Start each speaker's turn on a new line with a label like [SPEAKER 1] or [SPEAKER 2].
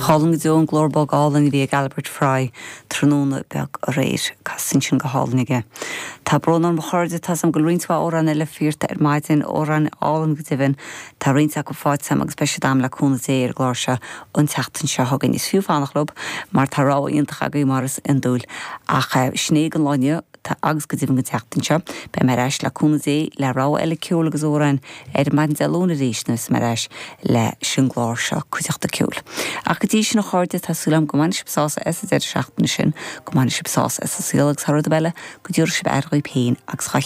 [SPEAKER 1] Ch'álainn go deo an glór bog álainn a bhí ag Albert Fry tráthnóna beag aréir. Casta ansin go hálainn aige. Tá brón orm a chairde, tá's a'm go bhfuil roinnt mhaith amhráin eile fíorta ar maidin, amhráin álainn go deimhin. Tá roinnt acu faighte a'm agus beidh siad a'm le cúnamh Dé ar an gclár seo an tseachtain seo chugainn. Is fiú fanacht leo mar tá rogha iontach agaibh mar is iondúil. Ach sin é don lá inniu. Agus go deimhin don tseachtain seo, beidh mé ar ais le cúnamh Dé le rogha eile ceoil agus amhráin ar maidin Dé Luain arís nuair a bheas mé ar ais leis an gclár seo, Cuideachta Ceoil. Ach go dtí sin a chairde, tá súil agam go mbainfidh sibh sásamh as an deireadh seachtaine sin, go mbainfidh sibh sásamh as an saol agus thar rud ar bith eile, go dtabharfaidh sibh aire dhaoibh féin agus dhá chéile.